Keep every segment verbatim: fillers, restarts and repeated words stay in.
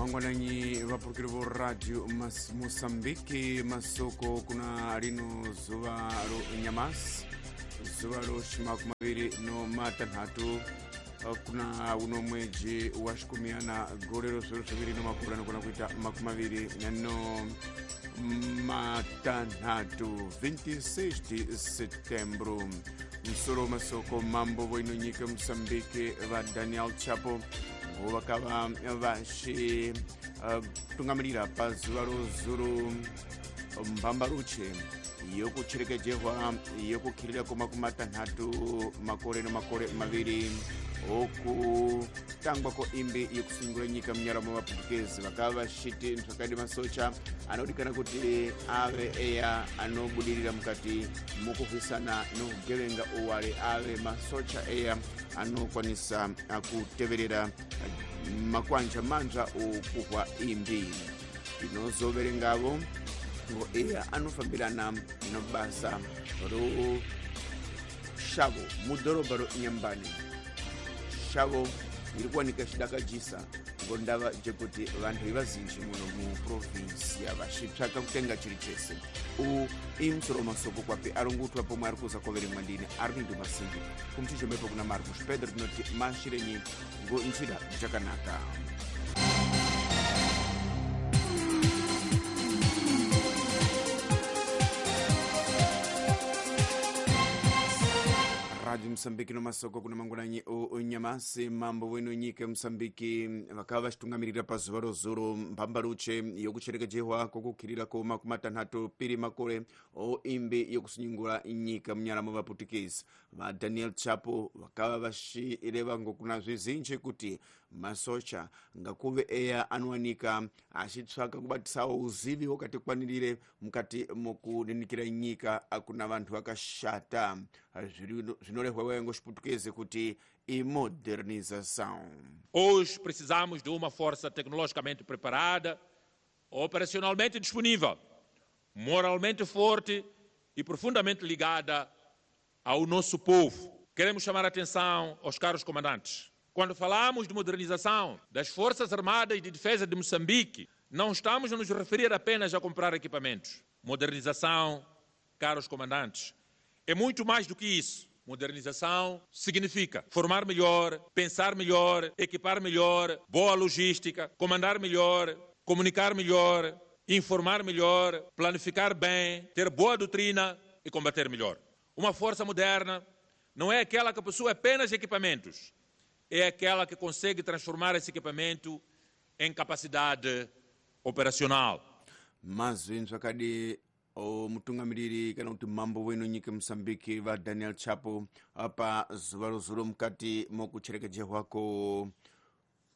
Mangwananyi vapurukiri vo radio mas, Moçambique masoko kuna lino zuva ro nyamasi zuva ro makumi maviri no matanhatu kuna uno mweji wa xikumiana gore ro zviro zviviri no makumi anogona kuita makumi maviri no matanhatu vinte e seis de setembro. Musoro masoko mambo voino nyika Moçambique va Daniel Chapo vakava vaxi uh, tungamirira pazuva rozuru mbambaruche yokucherekejehwa yokukhirira ko makumi matanhatu makore no makore maviri okutangwa ko imbi yokusungura nyika munyara mwa vaputukezi vakava vaxiti mswakadi masocha anodikana kuti ave eya anobudirira mukati mukuhwisana nokugevenga uwale ave masocha eya anokwanisa kuteverera makwanja manzva okuhwa imbi tinozoverengavo ngo eya anofambirana nobasa ro shavo mudhorobha ro Inhambane. Shavo iri kuwanika xidakajisa ngo ndava jekuti vanhu vazinji muno muprovinsia vaxitsvaka kutenga chiri chese. U imusoro masoko kwapi arongutwa pomwe ari kuza koverengwa ndini Armindo Masingi kumchichomepo kuna Marcos Pedro tinoti mashirenyi ngo njira jakanaka. Radio Moçambique no masoko kuna mangwananyi o nyamasi mambo wenu nyika Moçambique vakava vachitungamirira pazuva rozuro mbambaruche yokucherekejehwa kokukhirira ko makumi matanhatu piri makore o imbi yokusunyungura nyika munyara mwa vaputukezi va Daniel Chapo vakava vachireva ngokuna zvizinji kuti masocha ngakuve eya anowanika achitsvaka kubatisawo uzivi hwakatikwanirire mukati mokuninikira nyika akuna vantu vakashata zvinorehwa ngo xiputukezi kuti imodernização. Hoje precisamos de uma força tecnologicamente preparada, operacionalmente disponível, moralmente forte e profundamente ligada ao nosso povo. Queremos chamar a atenção aos caros comandantes. Quando falamos de modernização das Forças Armadas e de Defesa de Moçambique, não estamos a nos referir apenas a comprar equipamentos. Modernização, caros comandantes, é muito mais do que isso. Modernização significa formar melhor, pensar melhor, equipar melhor, boa logística, comandar melhor, comunicar melhor, informar melhor, planificar bem, ter boa doutrina e combater melhor. Uma força moderna não é aquela que possui apenas equipamentos, é aquela que consegue transformar esse equipamento em capacidade operacional. Mas zvakadi o mutungamiriri kana kuti mambo wenu nyika Moçambique va Daniel Chapo apa zuva rozuro mukati mokucherekejehwa ko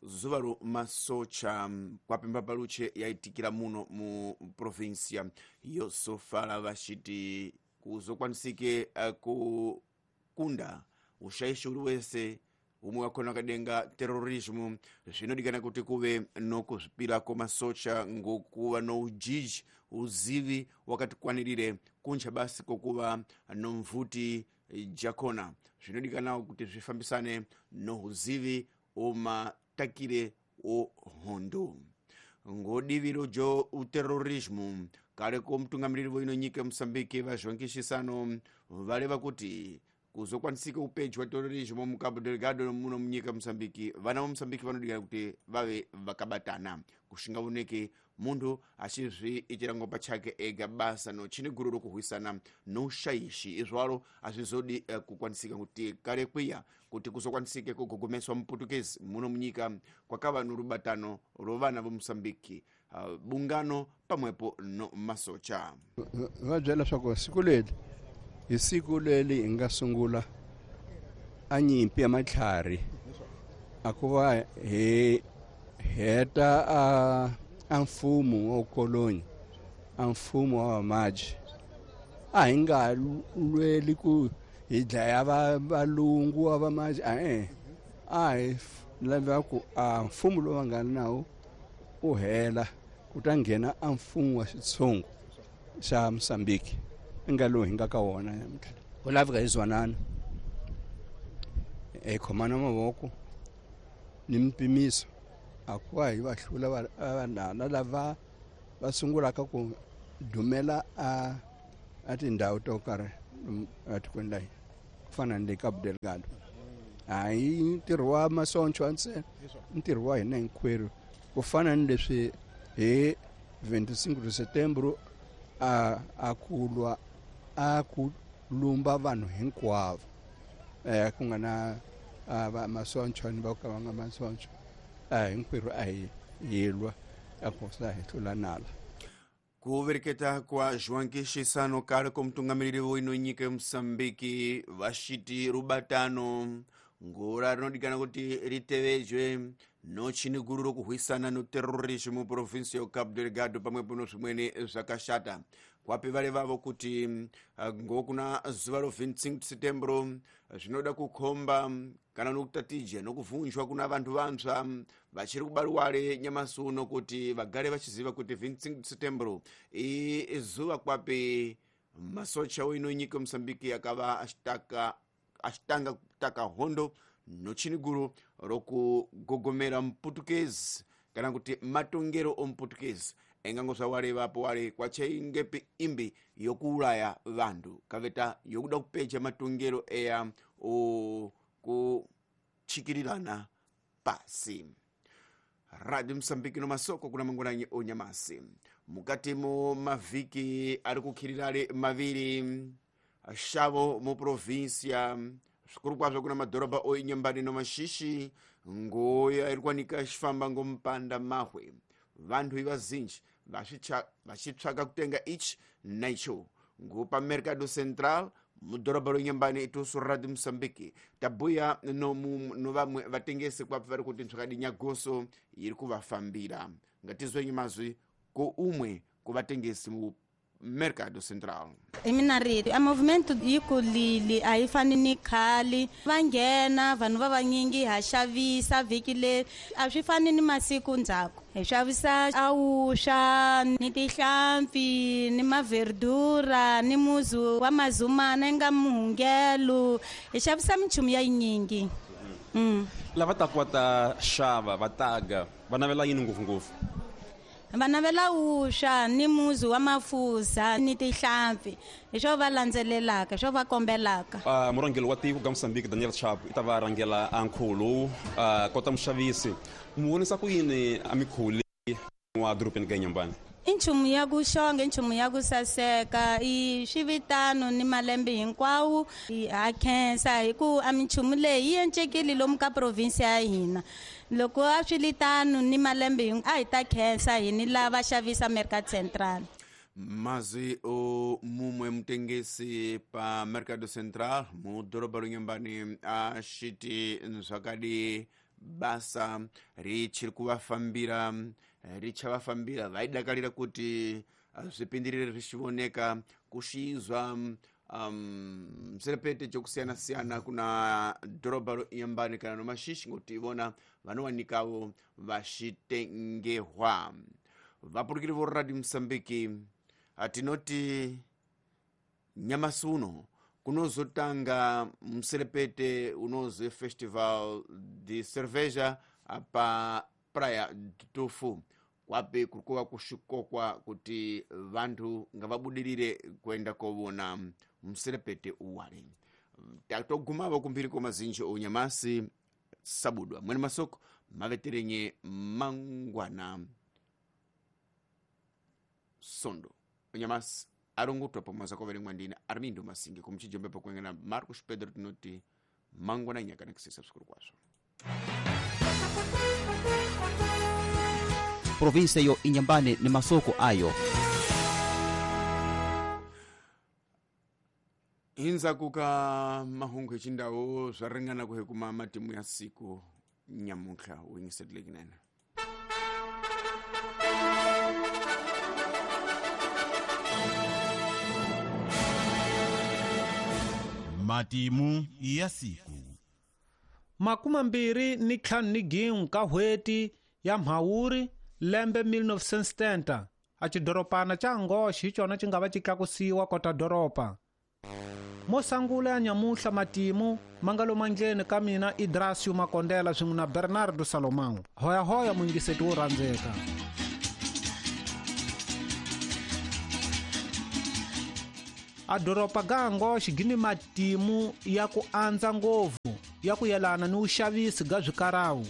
zuva ro masocha kwapi mbambaruche yaitikira muno mu provinsia yosofala vachiti kuzokwanisike uh, kukunda ushaishi uri wese umwe wakona wakadenga terrorismo zvinodikana kuti kuve nokuzvipira komasocha ngokuva noujiji uzivi wakatikwanirire kunja basi kokuva nomvuti jakona zvinodikanawo kuti zvifambisane nouzivi omatakire ohondo ngodiviro jo uterrorismo kare ko mutungamiriri voino nyika Moçambique va João Chissano vareva kuti kuzokwanisika upejwa terrorismo mu Cabo Delgado muno munyika Moçambique vana va Moçambique vanodikana kuti vave vakabatana kushingaoneke munhu achizviitira ngo pachake ega basa no chine guru rokuhwisana noushaishi izvaro azvizodi uh, kukwanisika kuti kare kwiya kuti kuzokwanisike kugogomeswa muputukezi muno munyika kwakava norubatano rovana vo Moçambique uh, bungano pamwepo no masocha va byela swa siku leri hi siku leri hi nga sungula a nyimpi ya matlhari a ku va hi heta a a mfumo wa ukoloni a mfumo wa vamaji a hi nga lweli ku hi dlaya valungu wa vamaji a-e a hi lava ku a mfumo lowu va nga nawo u hela ku ta nghena a mfumo wa xitshungu xa Moçambique nga lowu hi nga ka wona namuntlha ku laveka hi zwanana hi khomana mavoko ni mpimiso A ku va hi va hlula vanana lava va sungulaka ku dumela a a tindhawu to karhi etikweni la hina ku fana ni le Cabo Delgado. A hi ntirho wa masoncho ntsena, ntirho wa hina hinkwerhu ku fana ni leswi hi vingt-et-un de setembro a a ku lwa a ku lumba vanhu hinkwavo eh ku nga na va masoncho ni va ka va nga masoncho a hinkwerhu a hi yilwa a ku sa hi hlula nala. Kuvereketa kwa João Chissano kale ko mutungamiriri woino nyika Mosambiki vashiti rubatano ngora rinodikana kuti ritevejwe nochini guru rokuhwisana no terrorismo mu provinsi ya Cabo Delgado pamwepo no zvimweni zvakashata. Kwapi vale vavo kuti ngokuna zuva ro vingt-et-un setembro zvinoda kukhomba kana nokutatija nokuvhunjwa kuna vantu vantsva vachiri kubariwale nyamasi uno kuti vagare vachiziva kuti vingt-et-un setembro izuva kwapi masocha oino nyika Mosambiki akava achitaka achitanga kutaka hondo nochini guru rokugogomera muputukezi kana kuti matongero omuputukezi engango zvawale vapo wale kwachaingepi imbi yokuulaya vantu kaveta yokuda kupecha matongero eya o kuchikirirana pasi. Radio Mosambiki no masoko kuna mangwananyi onyamasi mukati mo mavhiki ari kukhirirale maviri shavo mu provinsia zvikuru kwazvo kuna madhorobha oinyambani no mashishi ngoya iri kwanika xifamba ngompanda mahwe vantu ivazinji vachitsvaka kutenga ichi naicho ngopa Mercado Central mudhorobha ronyambani itusu Radio Mosambiki tabuya no, no vamwe vatengesi kwapi vari kuti ntsvakadi nyagoso iri kuvafambira. Ngatizwenyi mazwi ko umwe kuvatengesi mu Mercado Central. Mina ri a movimento yi kulile a yi fani ni khale va nghena vanhu va vanyingi ha xavisa vhiki leri a swi fani ni masiku ndzhaku hi xavisa awuxa ni tihlampfi ni maverdura ni muzu wa mazumana nga muhungelo hi xavisa minchumu ya yinyingi. Mm. Lava ta ku va ta xava va taga va navela yini ngopfungopfu? Va navela wusha ni muzi wa mafuza ni tihlampfi hi swo va landzelelaka swo va kombelaka. Uh, murhangeri wa tiko ka Mosambiki Daniel Chapo i ta va rhangela a nkhulu uh, kota muxavisi mu vonisa ku yini a mikhuli wa dorobeni ka Inhambane? I nchumu ya ku xonga i nchumu ya ku saseka i swivitano ni malembe hinkwawo ha khensa hi ku a minchumu leyi yi encekile lomu ka provinsi ya hina loko a swi li tano ni malembe a hi ta khensa hi ni lava xavisa Mercado Central. Mazwi o mumwe mutengesi pa Mercado Central mudhorobha ronyambani ashiti zvakadi basa richiri kuvafambira richavafambira vaidakarira kuti zvipindirire zvichioneka kushizwa um, serepete chokusiyana-siyana kuna dhorobha roinyambani kana nomashishi ngokuti ivona vanowanikavo vachitengehwa. Vapurukiri vo Radio Mosambiki atinoti nyamasi uno kunozotanga muserepete unozi Festival de Cerveja pa Praia do Tofu kwapi kuri kuva kushikokwa kuti vantu ngavabudirire kuenda kovona muserepete uwale. Tatogumavo kumbiri kwamazinji onyamasi sabudwa mwene masoko maveterenye mangwana sondo onyamasi arongotwa pamwe kwaverengwa ndina Armindo Masinge kumuchijombe pakuengana Marcos Pedro tinoti mangwana nyaka nekusisa zvikuru kwazvo. Provinsia yo Inhambane ni masoko ayo. Inza kuka mahungu echindawo zvaringana kuhekuma matimu ya siku nyamuhla wingisetleknene. Matimu ya siku. Makumi mbirhi ni ntlhanu ni gin'we ka n'hweti ya Mhawuri lembe mille neuf cent setenta a xidoropana xa Angoche hi xona xi nga va xi tlakusiwa kota doropa. Mo sangula ya nyamuhla matimu mangalo mandleni ka mina Idrasio Makondela swin'we na Bernardo Salomão. Hoyahoya muyingiseti wo rhandzeka. A doropa ga Angoche gi ni matimu ya ku andza ngopfu ya ku yelana ni vuxavisi ga swikarawu.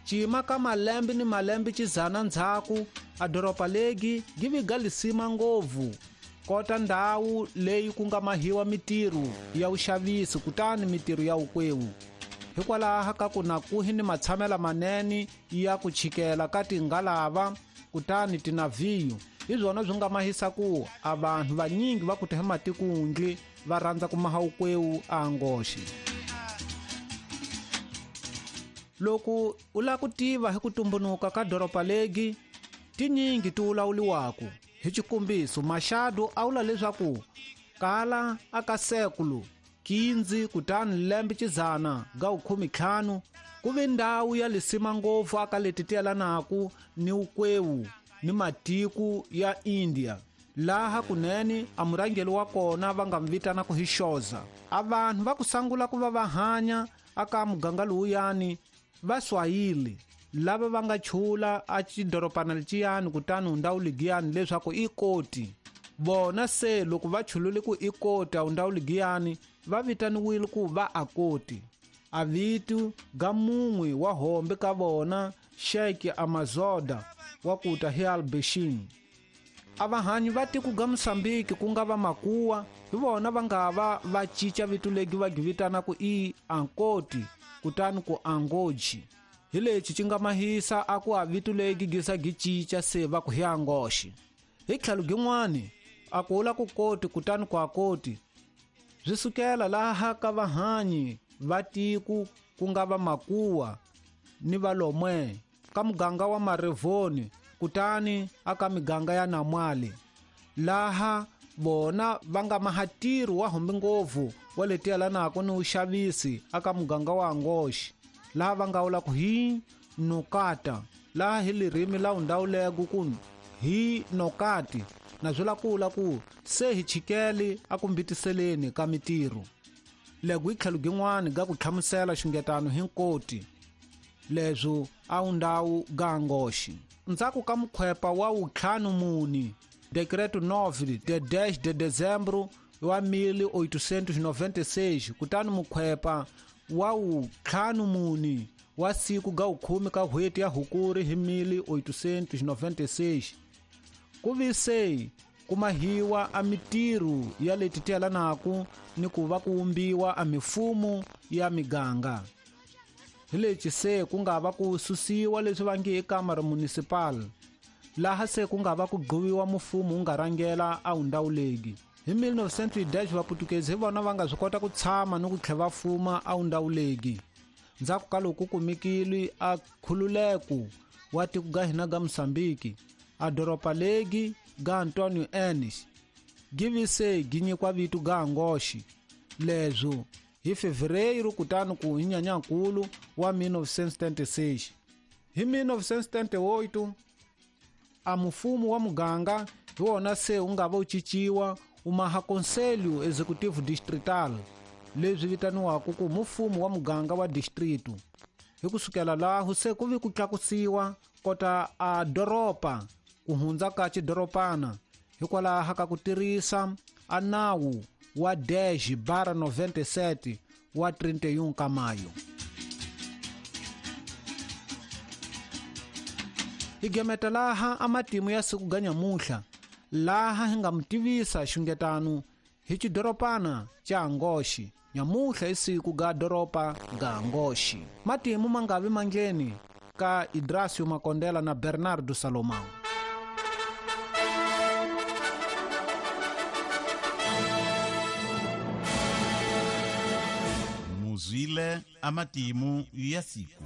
Cima ka malembe ni malembe xizana ndzhaku a doropa legi gi vi ga lisima ngopfu kota ndhawu leyi ku nga mahiwa mitirho ya vuxavisi kutani mitirho ya vukwewu. Hikwalaho ka ku na kuhi ni matshamela manene ya ku chikela ka tingalava kutani tinavhiyo hi byona byi nga mahisa ku a vanhu vanyingi va ku ta hi matikundli va rhandza ku maha vukwewu a Angoche. Loko u lava ku tiva hi ku tumbunuka ka doropa legi tinyingi ti wulawuliwaku. Hi xikombiso Machado a vula leswaku kala aka sekulu quinze kutani lembe xizana ga khume ntlhanu ku ve ndhawu ya lisima ngopfu aka leti ti yelanaku ni vukwewu ni matiko ya India. Laha kunene a murhangeri wa kona va nga mu vitana ku hi Xoza. A vanhu va ku sangula ku va va hanya aka muganga lowuyani va Swahili lava va nga chula a xidoropana leciyani kutani ndhawu ligiyani leswaku i koti. Vona se loko va chulule ku i koti a ndhawu ligiyani va vitaniwile ku va akoti. A vito ga mun'we wa hombe ka vona Sheikh Amazoda wa kuta hi Albeshin. A vahanyi va tiko ga Mosambiki ku nga va makuwa hi vona va nga va va cinca vito legi va gi vitana ku i Ankoti kutani ku Angoji. Hi lexi xi nga mahisa a ku a vito legi gisa gi cinca se va ku hi Angoche. Hi tlhelo gin'wani a ku vula ku koti kutani ku akoti swi sukela laha ka vahanyi va tiko ku nga va makuwa ni valomwe ka muganga wa Marevoni kutani aka miganga ya Namwale laha vona va nga mahatirhi wa hombe ngopfu wa leti yelanaka ni vuxavisi aka muganga wa Angoche laha va nga vula ku hi Nokata laha hi lirimi la undawuleko ku hi Nokati na swi la ku vula ku se hi chikele a ku mbitiseleni ka mitirho. Lego hi tlhelo gin'wani ga ku hlamusela xungetano hi nkoti leswo a wu ndhawu ga Angoche. Ndzhaku ka mukhwepa wa wuntlhanu muni Decreto nove de dez de dezembro wa mil oitocentos e noventa e seis kutani mukhwepa wa wuntlhanu muni wa siku ga wukhume ka n'hweti ya Hukuri hi mil oitocentos e noventa e seis ku vi se ku mahiwa a mitirho ya leti ti yelanaka ni ku va ku wumbiwa a mifumo ya miganga. Hi lexi se ku nga va ku susiwa leswi va nge i kamara municipal laha se ku nga va ku gqiviwa mufumo wu nga rhangela a wundawuleki. Hi mil novecentos e dez vaputukezi hi vona va nga swi kota ku tshama ni ku tlhela va fuma a wundawuleki. Ndzhaku ka loko ku kumekile a khululeko wa tiko ga hina ga Mosambiki a doropa legi ga Antonio Enes gi vi se gi nyikiwa vito ga Angoche leswo hi fevereiro kutani ku hi Nyenyankulu wa mil novecentos e setenta e seis. Hi mil novecentos e setenta e oito a mufumo wa muganga hi wona se wu nga va wu cinciwa wu maha Conselho Executivo Distrital leswi vitaniwaka ku mufumo wa muganga wa distrito. Hi kusukela laho se ku vi ku tlakusiwa kota a doropa ku hundza ka xidoropana hikwalaho ka ku tirhisa a nawu wa dez barra noventa e sete wa trinta e um ka maio. Hi gemeta laha a matimu ya siku ga nyamuhla laha hi nga mu tivisa xungetano hi xidoropana xa Angoche. Nyamuhla i siku ga doropa ga Angoche. Matimu ma nga vi mandleni ka Idrasio Makondela na Bernardo Salomão. Muzwile a matimu ya siku.